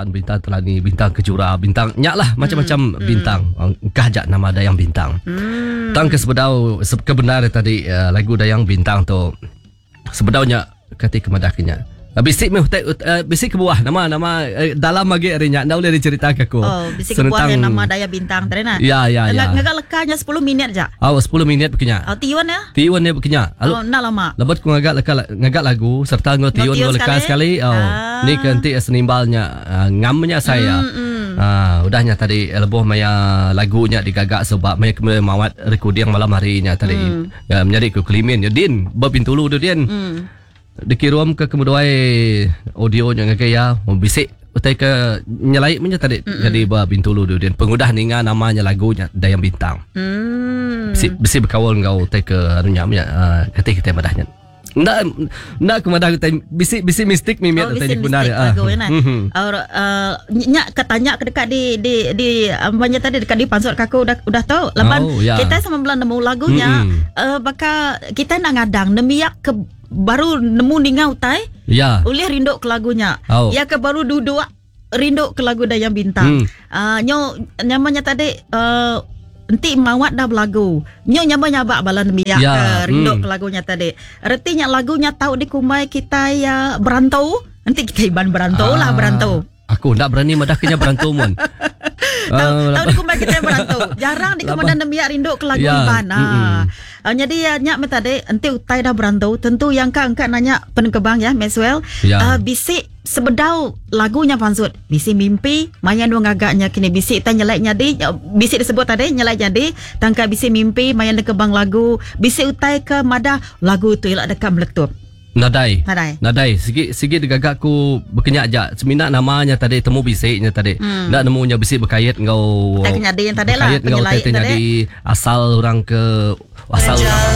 Bulan, Bintang Telani, Bintang Kejura, Bintang nya lah macam-macam bintang. Engkah aja nama Dayang Bintang. Tang ke sebedau ke bendar tadi lagu Dayang Bintang tu sebedau nya kati ke madah ke nya. Bisi meh utai bisi kebuah nama nama dalam agi ari nya enda ulih dicerita ke aku. Oh, bisi kebuah iya nama Daya Bintang tadi nah. Ya ya ya. Ngaga leka nya 10 minit aja. Oh, 10 minit beki nya. Oh, tiun ya. Tiun dia beki nya. Oh, enda lama. Lebuh ku ngaga leka ngaga lagu serta enggau tiun enggau leka sekali. Oh. Ah. Ni ke enti senimbal nya ngam nya saya. Mm, mm. udah nya tadi lebuh maya lagu nya digaga suba maya ke mawat recording malam hari nya tadi. Mm. Ya, menyadi ku Kelimin nya din ba Bintulu tu din. Mm. Dikirum ke kemeduai audio nya ngagai iya bisi utai ke nyelai menya tadi mm-hmm. jadi ba Bintulu tu din pengudah ninga nama nya lagu nya Dayang Bintang. Mm. Bisi bisi bekaul enggau utai ke anu nya menya uh, kati kita madah nya. Enda enda aku madah utai bisi bisi mistik mimit oh, utai nya benar ya. Lagu ya nah. Mm-hmm. Or, uh, nya ke tanya ke dekat di di di banyak tadi dekat di pansut ke aku udah udah tu laban oh, yeah. kita sama belan nemu lagunya mm-hmm. uh, baka kita nak ngadang nemiak ke baru nemu ninga utai ya. Ulih rindu ke lagu nya. Oh. Ya ke baru duduk rindu ke lagu Dayang Bintang. Hmm. Uh, nyo nyamanya tadi uh, enti mawat dah belagu. Nyo nyama nyabak bala nembiak ya. ke rindu hmm. ke lagu nya tadi. Reti nya lagu nya tau dikumbai kita ya berantu. Enti kita iban berantu ah. lah berantu. Aku enda berani madah ke nya berantu mun. Tau tau dikumbai kitai berantu. Jarang dikemenda nembiak rindu ke lagu Ya. Iban. Ha. Uh, jadi uh, nya meh tadi enti utai dah berantu tentu yang ka engka nanya penengkebang ya Maxwell Ya. uh, bisi sebedau lagu nya pansut bisi mimpi maya nuan ngaga nya kini bisi tai nyelai nyadi bisi disebut tadi nyelai nyadi tangka bisi mimpi maya nengkebang lagu bisi utai ke madah lagu tu ila deka meletup. Nadai. Nadai. Nadai. Sigi sigi digaga ku bekenya aja. Semina nama nya tadi temu bisi nya tadi. Hmm. Enda nemu nya bisi bekait enggau Utai ke nyadi yang tadi lah, bekait enggau utai penyelai ke tadi. nyadi asal orang ke asal orang.